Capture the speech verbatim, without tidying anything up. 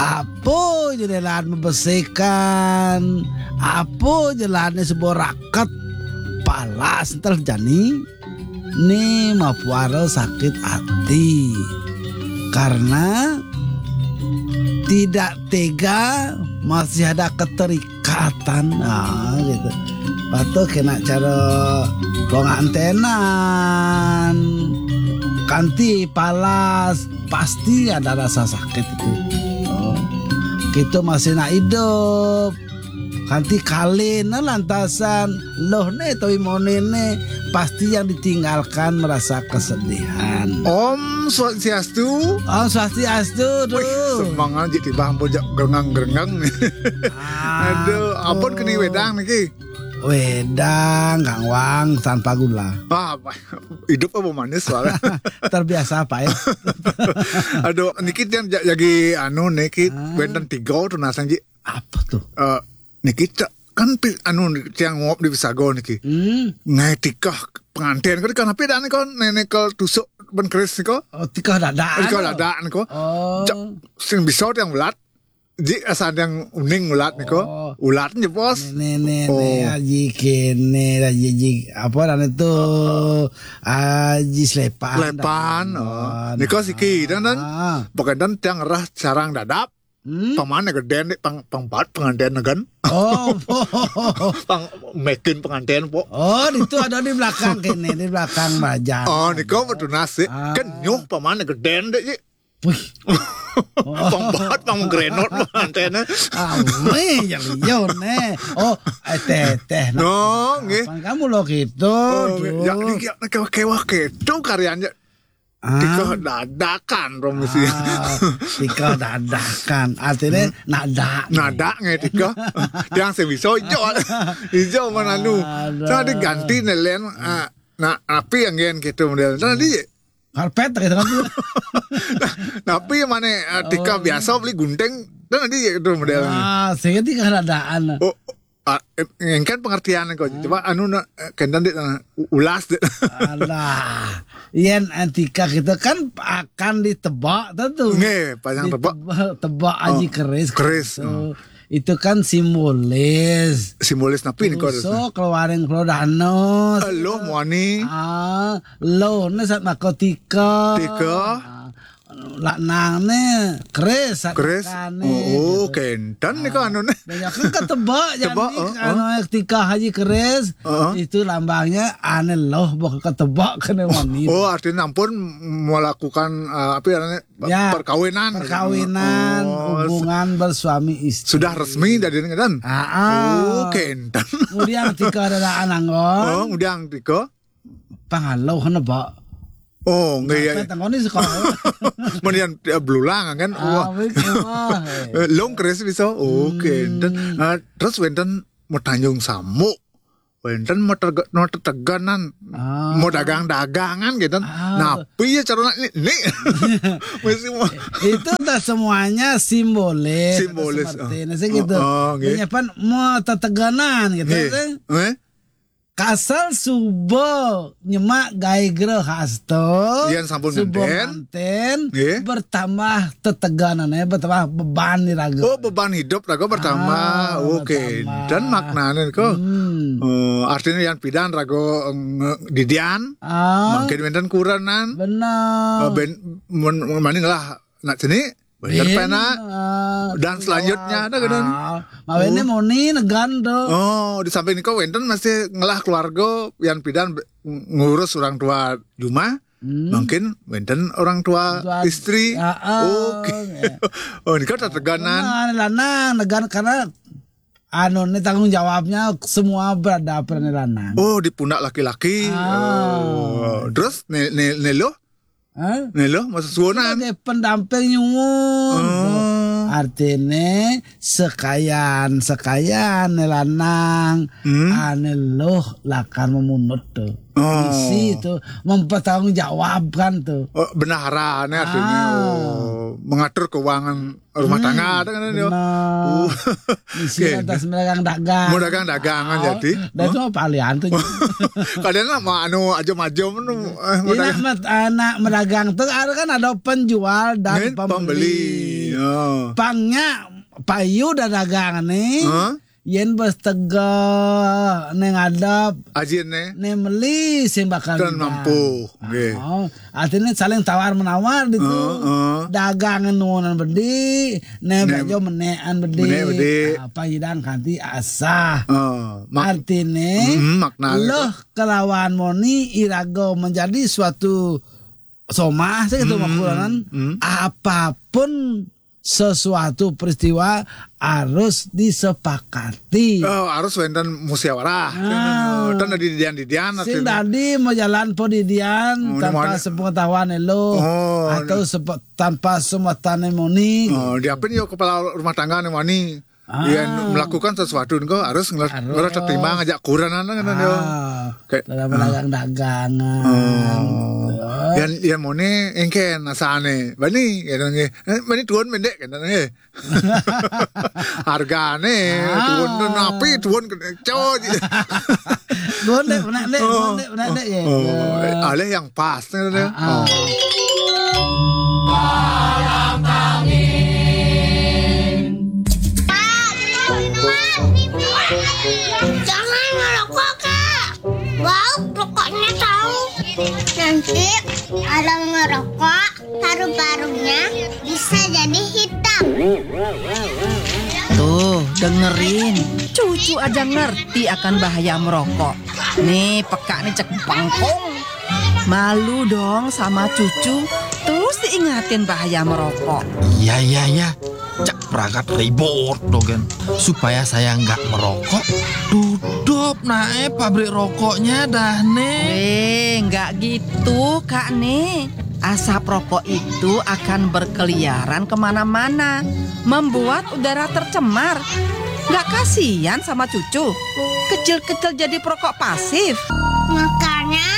Apa jelélan mabesikan, apa jelélanné suba raket, palas entel jani, né mapuara sakit ati. Karena tidak tega, masih ada keterikatan. Nah, gitu. Patuh kena cara pengantenan. Kanti palas, pasti ada rasa sakit itu. Oh. Kita masih nak hidup. Kanti kalina lantasan loh né tawi monéné, pasti yang ditinggalkan merasa kesedihan. Om Swastiastu. Om Swastiastu, Wih, tuh. Semangat ji tiba ampun jak gerengang-gerengang nih. Ah, Aduh, ampun tuh. Keni wedang niki. Wedang, Kang Wang, tanpa gula. Ah, apa? Hidup apa manis soalnya? Terbiasa pahit. Aduh, niki yang ja- lagi anu niki Ah. Wénten tiga tuh nasang ji. Apa tuh? Eh, niki ca- kan pi- anu niki, tiang ngop di Pisago niki. Hmm. Ngai tikah pengantin kan kan apa dah nih kan nenek kal tusuk ben keris nih kok. Oh, tikah dadak. Tikah anu. Dadak nih kok. Oh. Cak, sing bisa tiang ulat. Ji asal yang uning ulat nih kok. Oh. Ulat nih bos. Nih nih nih, Oh. Nih, Haji kene, Haji, Haji, apa dah itu? Haji Slepan. Slepan. Oh. Nih kok siki dan dan. Ah. Pokoknya dan tiang rah sarang dadap. Hmm? Pamane gedén dik pang pang bat pengantin kan. Oh. Pang mekin pengantin po. Oh, itu ada di belakang kene, di belakang baja. Oh, niko betul nasi. Ah. Kenyuh pamane gedén dik ji. Wih. Pang bat pang grenot pengantin. Ame yang yo ne. Oh, eh, teh teh. No, nggih. Kapan kamu lo gitu? Oh, nggih. Ya, niki ya, kewah-kewah gitu karyanya. Ah. Tikah dadakan, Romi, sih. Ah, tikah dadakan. Artinya Hmm. Nada. Nada nggih tikah. Yang sing bisa ijo. Ijo mana anu. Aduh. Tadi ganti nelen. Ah, nah, api yang gen gitu model. Tadi Karpet gitu kan. Nah, tapi mana ah, tikah Oh. Biasa beli gunting. Tadi gitu model. Ah, sehingga tikah dadaan. Oh, ah, eh, engken pengertian kok. Coba anu na- eh, kenten dik, eh, ulas dik. Alah, yen antika kita kan akan ditebak tentu. Nggih, panjang tebak. Ditebak, tebak Oh, aji keris. Keris, Gitu. Hmm. Itu kan simbolis. Simbolis napi nih kok? Tuso keluaring keluar danus. Loh, muani. Ah, loh, ini saat narkotika. Tika. Ah, laknang ne keris, Keris. Keris. Oh, oh, gitu. Kenten nih kok anu nih. Banyak kan ketebak jadi Tebak, oh, anu oh. Ketika Haji Keris Heeh. Itu lambangnya ane loh bok ketebak kene wani. Oh, artinya ampun melakukan eh, apa ya namanya? Ya, perkawinan. Perkawinan, Oh, hubungan bersuami istri. Sudah resmi dari ini kan? Ah, ah. Oh, kenten. Kemudian ketika ada anak Oh, kemudian tika. Pangaloh ne, Pak. Oh, nggih ya. Tengok ni sekolah. Menian eh, belulang kan. Ah, wah. Wis, wah. Eh, long keris bisa. Oke. Hmm. Dan ah, terus wenten mau tanjung samuk. Wenten mau terge- mau teteganan. Ah. Mau dagang-dagangan gitu. Ah. Napi ya cara nak ni. Ni. Mesti mau. Itu dah semuanya simbolis. Simbolis, Seperti ah. Ini sih gitu. Oh, oh, nggih. Punya pan mau teteganan gitu Nggih. Sih. Eh? Kasal suba nyemak gaé grehasta, Yén sampun suba ngentén. Ngentén, Nggih. Bertambah teteganane, bertambah beban di raga. Oh, beban hidup raga bertambah. Ah, oke. Bertambah. Dan maknane kok. Hmm. Oh, artinya yang pidan raga nge- didian, Ah. Mungkin wenten kurenan. Benar. Eh, ben men- mending lah nak sini Bener Bin, penak. Ah, Dan selanjutnya ada kan? Ah, mawene Oh. Moni negan tuh. Oh, di samping niku wenten masih ngelah keluarga yang pidan be- ngurus orang tua di rumah. Hmm. Mungkin wenten orang tua Tua- istri. Ah, ah, Oke. Ya. Oh, ini kan teteganan. Nah, lanang negan karena anu ini tanggung jawabnya semua berada peran lanang. Oh, di pundak laki-laki. Ah. Oh, terus ne, ne, ne lo? Hah? Nih lo, masa suonan. Sebagai pendamping nyuwun. Oh. Artine sekayan-sekayan ne lanang Hmm. Ane loh lakar memunut tuh. Oh. Isi itu mempertanggungjawabkan tuh. Oh, bendaharane artinya. Ah. Oh, mengatur keuangan rumah Hmm, tangga ada kan dia. Benar. Oh. Isi Oke. Atas medagang-dagang. Mau dagang-dagangan Oh, jadi. Dan Hah? Itu apa alian tuh? Kadang lah mau anu aja maju menu eh, mau Ini dagang. Mat- anak medagang tuh ada kan ada penjual dan Nggih, pembeli. Pembeli. Oh. Pang nya payu da dagang né. Huh? Yén bes tegeh né ngadep. Ajin né. Né meli sing bakal mampu. Nggih. Oh, artinya saling tawar menawar gitu. Heeh. Dagang nuunan bedi, né bajo menékan bedi. Menék bedi. Ah, pang nyidang kanti asah. Heeh. Artinya, mm, makna leuh kalawan moni iraga menjadi suatu somah, saya gitu, mm, makulanan, mm, apapun sesuatu peristiwa harus disepakati. Oh, harus wénten musyawarah. Ah. Tan dadi didian-didian. Sing dadi majalan padidian, oh, tanpa sepengetahuan élo, oh, atau sepe-, tanpa sematané moni. Oh, diapin yo kepala rumah tangga né wani. Ah. Yén melakukan sesuatu engko harus ngeler-, harus ngeler terima ngajak kurenan kan yo. Ah. Kayak, dalam dagang-dagangan. Oh. Yén, yén moni engkén asané. Bani, ya nggih. Eh, bani tuun mendek kan nggih. Hargané, ah, tuun napi, tuun kena coj. Tuun dek, menek dek, tuun dek, menek dek ya. Oh, alih yang pas kan ya. Ah, ah. Oh. Jangan merokok, Kak. Bau rokoknya tahu. Nanti orang merokok, paru-parunya bisa jadi hitam. Tuh, dengerin. Cucu aja ngerti akan bahaya merokok. Nih, peka nih cek bengkong. Malu dong sama cucu. Terus diingatin bahaya merokok. Iya, iya, iya. Cak pragat ribut dogen. Supaya saya nggak merokok, tutup nae pabrik rokoknya dah, Nek. Eh, nggak gitu, Kak, Nek. Asap rokok itu akan berkeliaran kemana-mana, membuat udara tercemar. Nggak kasihan sama cucu? Kecil-kecil jadi perokok pasif. Makanya